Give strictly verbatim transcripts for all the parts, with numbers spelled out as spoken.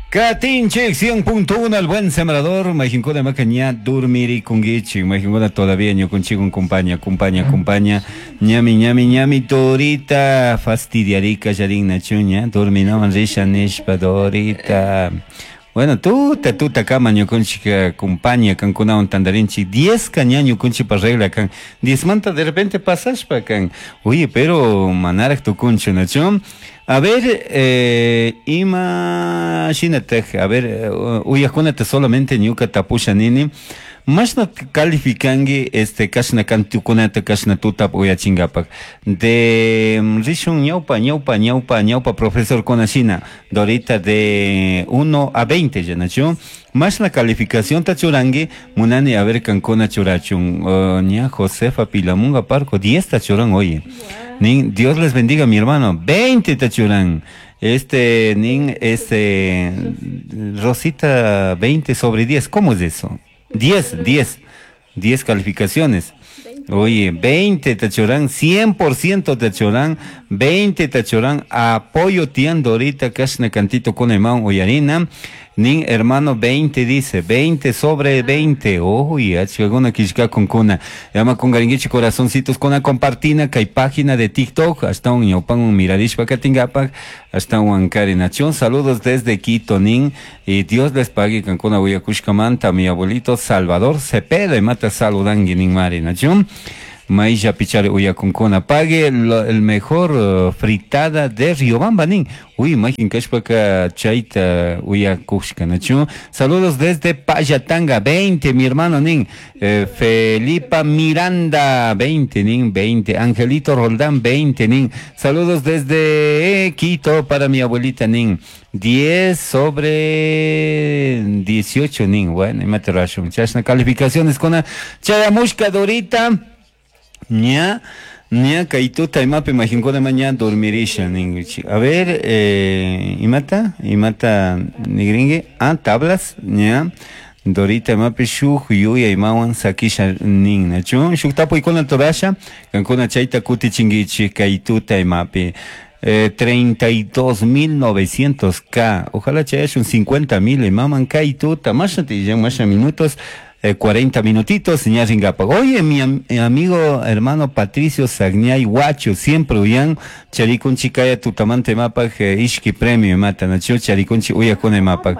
Katinchik cien punto uno, El Buen Sembrador. Majinkuna maka ña dormirikunguichik, majinkuna todavía ñukunchik compañía, compañía, compañía, ñami, ñami, ñami Dorita fastidiarika yarinna chuña dorminawan risha nishpa Dorita. Bueno, tuta tuta kama ñukunchik compañía kankunawan tandarinchik. diez ka ña ñukunchikpa regla kan, diez manta de repente pasashpa kan. Oye, pero manaraj tukunchu, nachu? A ver, eh, ima shinataj, a ver, eh, uyajkunata solamente ñuka tapusha nini, mashna calificangi este kashna kantukunata kashna tutap uyachingapak de mm, rishun ñawpa ñawpa ñawpa ñawpa profesor shina Dorita, de uno a veinte ya, nachu? Mashna calificación ta churangi? Munani a ver kankuna churachun. uh, ña Josefa Pilamunga Parco diez ta churan. Oye, nin "Dios les bendiga, mi hermano", veinte ta churan. Este nin, este Rosita, veinte sobre diez. ¿Cómo es eso? diez, diez, diez calificaciones. Oye, veinte tachuran, cien por ciento tachuran, veinte tachuran, apoyo tian Dorita, kashna cantito con imán uyarina. Nin hermano veinte dice, veinte sobre veinte. Oye, achkakuna kishka con kuna. Llama con garinguichi corazoncitos con compartina kay página de TikTok. Hasta un ñaupan un miradishpa katingapak. Hasta un Nación. Saludos desde Quito, nin. Y Dios les pague kankuna uyakushkamanta. Mi abuelito Salvador Cepeda y mata saludangui nin mari nación. Maisha pichare uyakunkuna. Pague lo- el mejor uh, fritada de Riobamba, nin. Uy, majin kashpaka chayta uyakushka, nachu. Saludos desde Payatanga, veinte, mi hermano, nin. Eh, Felipa Miranda, veinte, nin, veinte. Angelito Roldán, veinte, nin. Saludos desde eh, Quito para mi abuelita, nin. diez sobre dieciocho, nin. Bueno, imate rashun. Chashna calificaciones con chayamushka Dorita. Ña, ña kaytuta imapi majinkuna maña dormirisha ninguchi. A ver, eh, imata, imata nigringue, ah, tablas, ña. Dorita imapi shuk yuya imawan sakisha nin, nachu? Shuk tapuykuna torasha, kankuna chayta kutichinguichi kaytuta imapi. Eh, treinta y dos mil novecientos K. Ojalá chayashun cincuenta mil imaman kaytuta. Masha masha minutos. eh, cuarenta minutitos, ña ringapa. Oye, mi am- mi amigo hermano Patricio Sagñay Huacho, siempre uyan, charikunchi kaya tutamante mapak, eh, ishki premio mata, nacho charikunchi uyakuna mapak.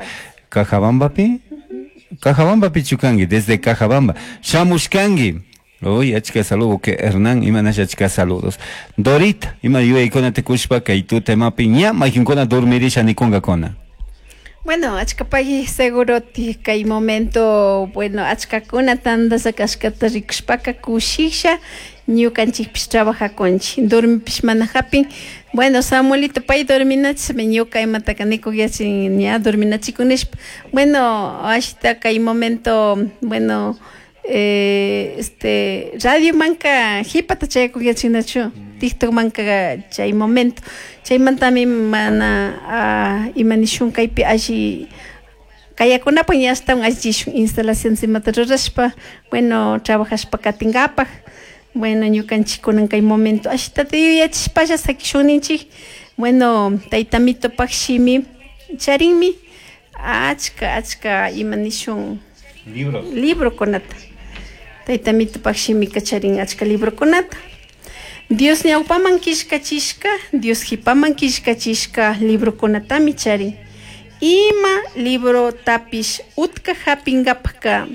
Cajabamba pi? Cajabamba pichukangi, desde Cajabamba. Shamushkangi. Uy, achka saludo que Hernán, imanash achka saludos. Dorita, ima yuyaykuna tikushpa kay tuta imapi ña majinkuna dormirisha nikungakuna. Bueno, achkapay seguro ti kay momento, bueno, achkakuna tandasha kashkata rikushpaka kushisha ñukanchikpish trabajakunchik, dormipish mana hapin. Bueno, Samuelito pay dorminachishpa ñuka imataka nikuyachin ña dorminachikunishpa. Bueno, ashita kay momento, bueno, eh, este radio manka hipata chayakuyachinachu, TikTok manka chay momento chaymantami mana ah, ima nishun kaypi alli kayakunapaq ña ashtawan allichishun instalación imata rurashpa, bueno, trabajashpa katinkapak. Bueno, ñukanchik kunan kay momento ashitata yuyachishpalla sakishun ninchik. Bueno, tayta mitopak shimi charinmi achka achka ima nishun Libros. Librokunata. Tayta mitopak shimika charin achka librokunata, Dios ñawpaman killkachishka, Dios hipaman killkachishka librokunatami charin. Ima librotapish utka hapinkapaka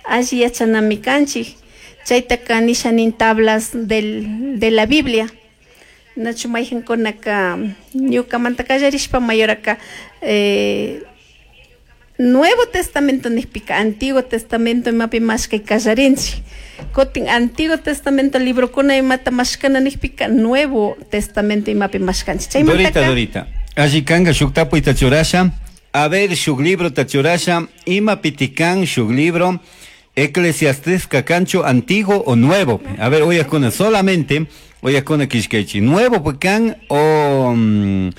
alli yachanami kanchik. Chaytaka nisha nin tablas del, de la Biblia, nachu? Mayjankunaka ñukamanta kallarishpa mayoraka eh, Nuevo Testamento nijpika Antiguo Testamento imapi mashkay kallarinchik. Kutin Antiguo Testamento librokuna imata mashkana nijpika Nuevo Testamento imapi mashkanchik. Dorita, Chaymantaka Dorita. Alli kanga shuk tapuyta churasha. A ver, shuk libro ta churasha. Ima pitikan shuk libro. Eclesiastés kanchu antiguo o nuevo. A ver, uyakuna, solamente uyakuna kishkaychi. Nuevo pican o mm,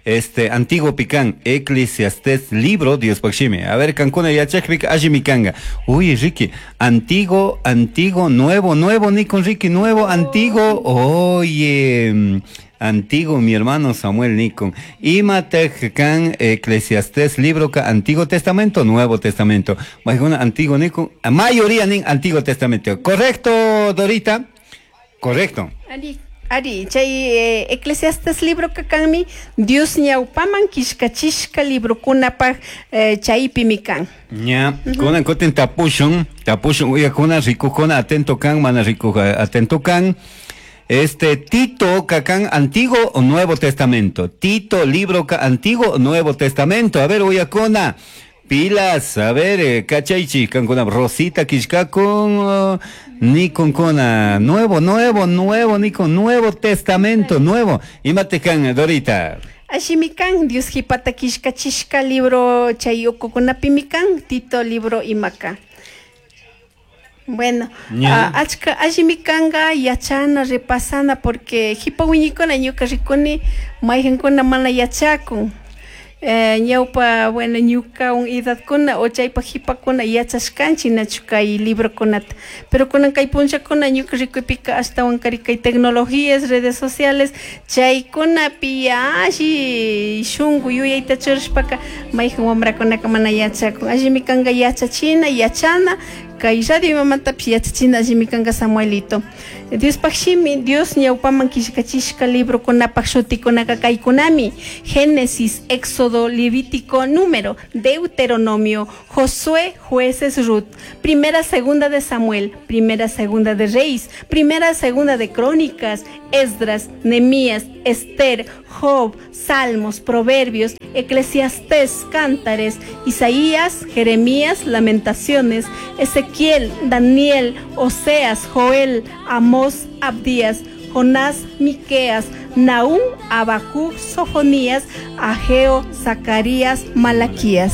este antiguo pican Eclesiastés libro Dios pakshimi. A ver, kankuna yachakpika alli mikanga. Uy, Ricky, antiguo, antiguo, nuevo, nuevo, ni con Ricky, nuevo, antiguo. Oye, mm, Antiguo mi hermano Samuel nikun. Imataj kan Eclesiastés libro ka Antiguo Testamento, Nuevo Testamento. Maykuna Antiguo nikun, mayoría nin Antiguo Testamento. Correcto, Dorita? Correcto. Ari, ari, chay eh, Eclesiastes libro ka kanmi Dios ñawpaman killkachishka librokunapaj eh, chaypimi kan. Ña, kunan kutin tapushun, tapushun uyakuna rikukuna atento kan, mana rikuj atento kan. Este Tito kakan Antiguo o Nuevo Testamento. Tito libro ka Antiguo o Nuevo Testamento. A ver, uyakuna. Pilas, a ver, eh, kachaychi, kankuna Rosita kishkakun, uh, nikun kuna, nuevo, nuevo, nuevo, nikun, Nuevo Testamento, nuevo. Imate kan, Dorita. Allimi kan, Dios jipata killkachishka libro chay ukukunapimi kan, Tito libro imaka. Bueno, Ña. uh, achka allimi kanga yachana repasana porque jipa wiñikuna ñuka rikuni mayqankuna mana yachakun. Eh, ñawpa, bueno, ñuka un edadkuna o chaypa jipakuna yachashkanchik nachu kay librokunata. Pero kunan kay punllakuna ñuka rikuypika ashtawan kari kay tecnologías, redes sociales, chaykunapi alli shunku yuyayta churashpaka mayqan wamrakunaka mana yachakun. Allimi kanka yachachina, yachana, kay radio imamantapish yachachina allimi kanka Samuelito. Diospaj shimi, Dios ñawpaman killkachishka librokunapaj shutikunaka kaykunami: Génesis, Éxodo, Levítico, Número, Deuteronomio, Josué, Jueces, Ruth, Primera, Segunda de Samuel, Primera, Segunda de Reyes, Primera, Segunda de Crónicas, Esdras, Nehemías, Esther, Job, Salmos, Proverbios, Eclesiastés, Cántares, Isaías, Jeremías, Lamentaciones, Ezequiel, Daniel, Oseas, Joel, Amós, Abdías, Jonás, Miqueas, Nahum, Habacuc, Sofonías, Ageo, Zacarías, Malaquías.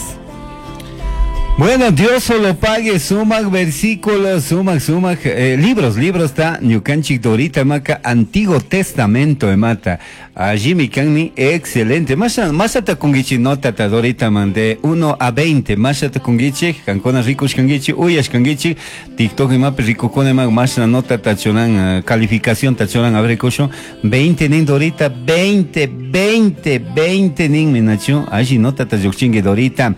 Bueno, Dios solo pague, sumac versículos, sumac, sumac, eh, libros, libros está ñukanchik Dorita Maca, Antiguo Testamento emata. Allí mi kanmi, excelente. Masha, masha kungichi nota ta Dorita mande uno a veinte. Masha ta kungichi, kankona rikush kangichi, uyash kangichi, TikTok imapi rikukuna ima, masha nota ta choran, eh, calificación ta choran, a ver, kusho, veinte nin Dorita, veinte, veinte, veinte nin minachu, allí nota ta yukchingue Dorita.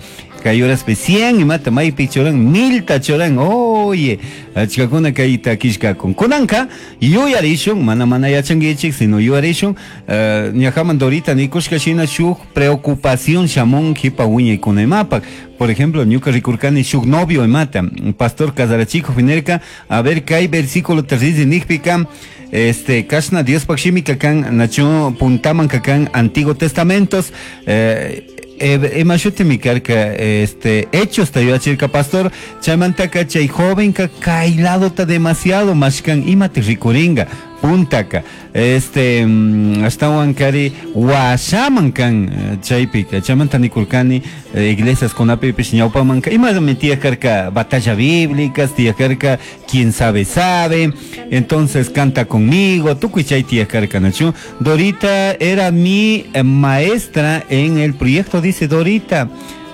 Kay horas pe cien imata maypi churan milta churan, oye, achkakuna kayta killkakun. Kunanka yuyarishun, mana mana yachankichik, sino yuyarishun, uh, ñajaman Dorita nikushka shina shuk preocupación shamun jipa wiñaykuna imapak. Por ejemplo, ñuka rikurkani shuk novio imata, pastor casarachijo finerka, a ver kay versículo terrizi nikpika, este, kashna Diospaj shimi kakan, nacho puntaman kakan Antiguo Testamentos, eh, ima shutimi karka, este, Hechos tayuachirka pastor, chaymantaka chay jovenka kay ladota demasiado mashkan imati rikuringa puntaka, este, ashtawan kari washaman kan chaypika, chaymanta nikurkani iglesias kunapipish ñawpamanka imami tiyaj karka batalla bíblicas, tiyaj karka quien sabe sabe, entonces canta conmigo, tukuy chay tiyaj karka nachu. Dorita era mi maestra en el proyecto, dice Dorita.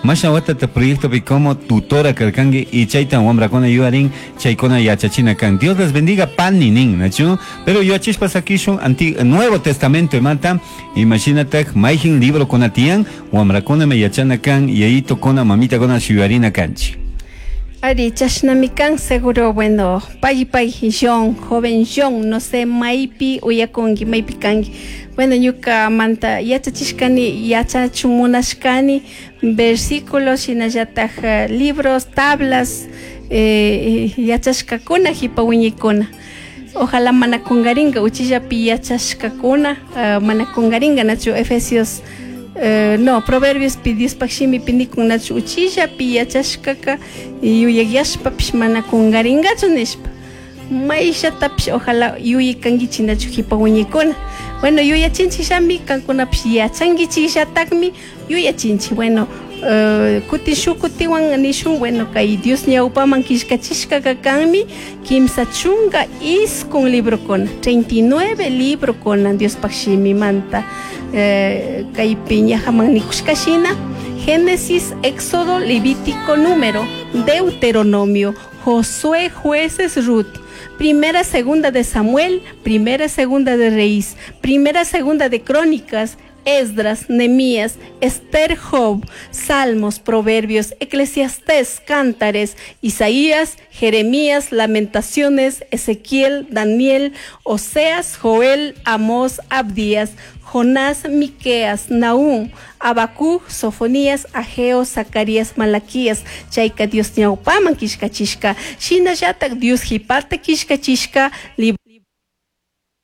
Masha watata proyecto pi como tutora karkangi y chaytan wamrakuna yuarin chaykuna yachachina kan. Dios les bendiga pan ni nin, nachu. Pero yo achishpas akishun anti Nuevo Testamento imata, imagínate mayjin libro kunatian wamrakuna me yachana kan yayito kona mamita kona shuyarina kanchi. Ari, chashnami kan seguro, bueno, pay pay John, joven John, no sé, maypi uyakunki, maypi kanki. Bueno, ñuka manta yachachishkani, yachachumunashkani, versículos, shinallataj libros, tablas, eh, yachashkakuna, jipa wiñikuna. Ojalá mana kungaringa, uchillapi yachashkakuna, uh, mana kungaringa, nachu Efesios, Uh, no, Proverbios pi Diospaj shimi pi nikun nachu uchillapi yachashkaka yuyayashpapish mana kungaringachu nishpa. Mayllatapish ojalá yuyikankichik nachu jipa wiñikuna. Bueno, yuyachinchikllami kankunapish yachankichikllatakmi yuyachinchik. Bueno, uh, kutin shuk kutiwan nishun, bueno, kay Dios ñawpaman killkachishkaka kanmi kimsa chunka iskun librokuna, treinta y nueve librokuna Diospaj shimimanta. Eh, kaypi ñajaman nikushka shina, Génesis, Éxodo, Levítico, Número, Deuteronomio, Josué, Jueces, Ruth, Primera, segunda de Samuel, primera, segunda de Reyes, primera, segunda de Crónicas, Esdras, Nehemías, Esther, Job, Salmos, Proverbios, Eclesiastés, Cántares, Isaías, Jeremías, Lamentaciones, Ezequiel, Daniel, Oseas, Joel, Amós, Abdías, Jonás, Miqueas, Nahum, Habacuc, Sofonías, Ageo, Zacarías, Malaquías, Chayka Dios ñawpaman killkachishka, shinallatak Dios jipata killkachishka, libro